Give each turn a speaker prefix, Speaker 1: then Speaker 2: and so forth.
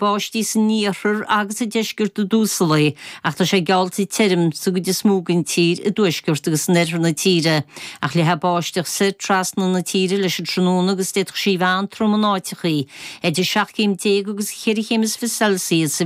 Speaker 1: Báistí san iarthar agus sa deisceart i dtús an lae ach tá sé geallta tirim sa gcuid is mó den tír i dtuaisceart agus in oirthear na tíre. Ach leathfaidh báisteach soir trasna na tíre leis an tráthnóna agus d'fhéadfadh sí a bheith an-trom in áiteachaí. Idir 17 chéim agus cheithre chéim is 20 Celsius.